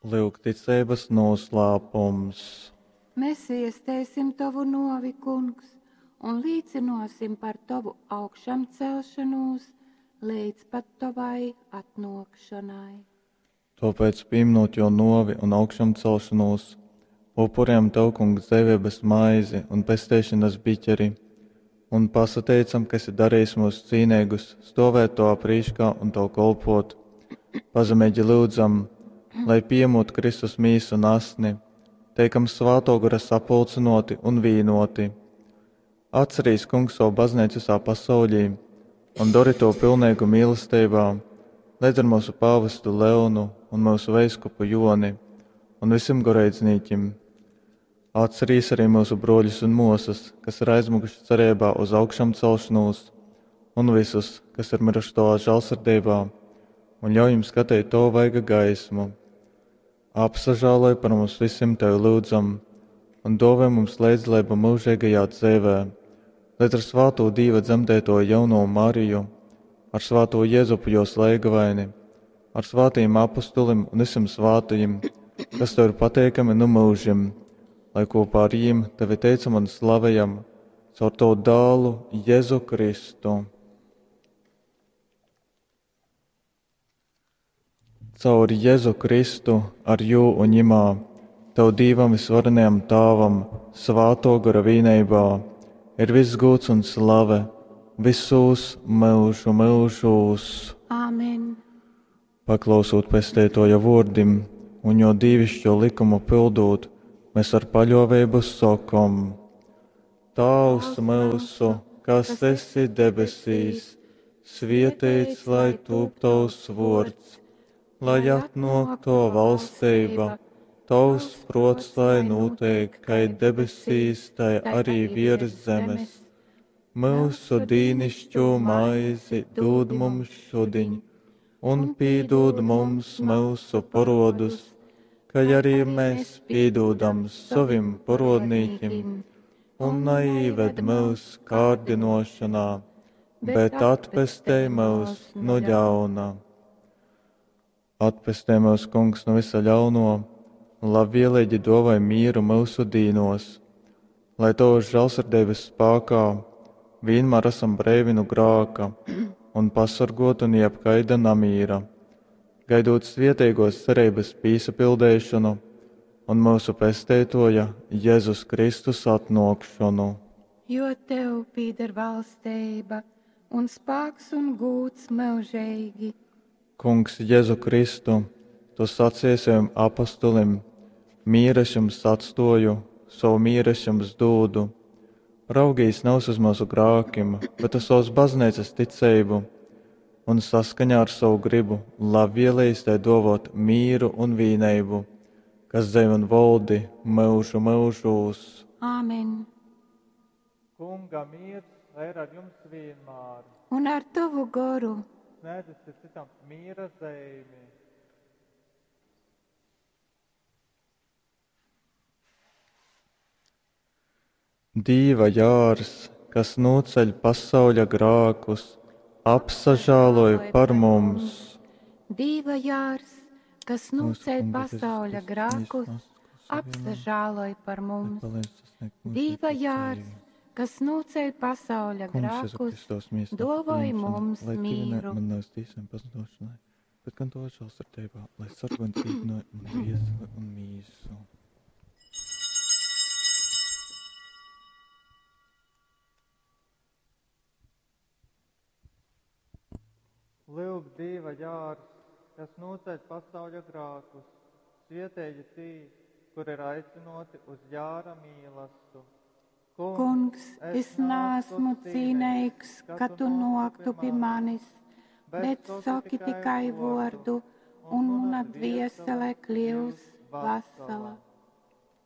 Lyuk ticeibas noslēpums. Mēs iesteisim Tovu novi, Kungs, un līcinosim par Tovu augšamcelšanos līdz pat Tavai atnākšanai. Tāpēc, pieminot jo novi un augšamcelšanos, upurējam Tev, Kungs, dzīvības maizi un pesteišanas biķeri, un pasateicam, ka esi darījis mūs cīnīgus, stovēt Tavā prīškā un Tev kolpot. Pazemīgi lūdzam, lai piemūt Kristus mīsu un asni, teikam svāto gara sapulcinoti un vīnoti. Atcerīs, Kungs, savu baznīcu visā pasaulī un dari to pilnīgu mīlestībā, līdz ar mūsu pāvestu Leonu un mūsu veiskupu Joni un visiem goreidznīķim. Atcerīs arī mūsu broļus un mūsas, kas ir aizmukuši cerībā uz augšām celšanos, un visus, kas ir miruši tavā žēlsirdībā, un ļauj jums skatīt to vaiga gaismu. Apsažāloj par mums visiem tevi lūdzam, un dāvā mums līdzdalību mūžīgajā dzīvē, līdz ar svāto Dīva dzemdēto jauno Mariju, ar svāto Jēzupu jos leigavaini, ar svātajiem apustulim un visiem svātajiem, kas tev ir pateikami nu mūžim, lai kopā ar jiem tevi teicam un slavējam caur tavu dālu Jēzu Kristu. Caur Jēzu Kristu, ar jū un ņimā, tev Dīvam visvarenajam Tāvam, svāto gara vīneibā, ir viss gūts un slave visos mūžu mūžos. Āmen! Paklausot pestētoja vārdim un jo dīvišķo likumu pildot, mēs ar paļāvību sakom: Tēvs mūsu, kas esi debesīs, svētīts lai tūp tavs vārds, lai atnāk to valstība, tavs prots lai notiek, kai debesīs, tai arī virs zemes. Mūsu dīnišķo maizi dod mums šodien, un pīdod mums mūsu parodus, kā arī mēs pīdodam savim parodnīkim, un neīved mūs kārdinošanā, bet atpestej mūs no ļauna. Atpestē mūs, Kungs, no visa ļauno, un labvēlīgi dovai mieru mūsu dīnos, lai Tavas žēlsirdības spēkā vienmēr esam breivi no grāka un pasargoti no jebkaida namīra, gaidot svietīgos cerības pīsapildēšanu un mūsu pesteitoja Jēzus Kristus atnākšanu. Jo tev pīder valstība un spēks un gūts mūžīgi. Kungs Jēzu Kristu, tu sacīji saviem apustulim, mieru es jums atstoju, savu mieru es jums dūdu. Raugīs nav uz mūsu grākim, bet uz savas baznīcas ticību, un saskaņā ar savu gribu labvēlījis tai dovot mīru un vīneibu, kas dzēv un valdi mūžu mūžūs. Āmen! Kunga miers lai ir ar jums vienmēr. Un ar tavu goru. Sniedzat citam miera zīmi. Dīva jārs, kas noceļ pasauļa grākus, apsažāloj par mums. Dīva jārs, kas noceļ pasauļa grākus, apsažāloj par mums. Dīva jārs, kas noceļ pasauļa grākus, dovoj mums mīru. Man nevis tīsiem pazudošanai, bet gan to žēlsirdībā, lai sargo un dzīvinoja man dvieseli un mīsu. Lūk, Dieva jārs, kas noceļ pasauļa grākus, svietēji tī, kur ir aicinoti uz jāra mīlastu. Kungs, es neesmu cīnīgs, ka tu noktu pie manis, bet saki tikai vārdu, un mana dviesele kļūs vesela.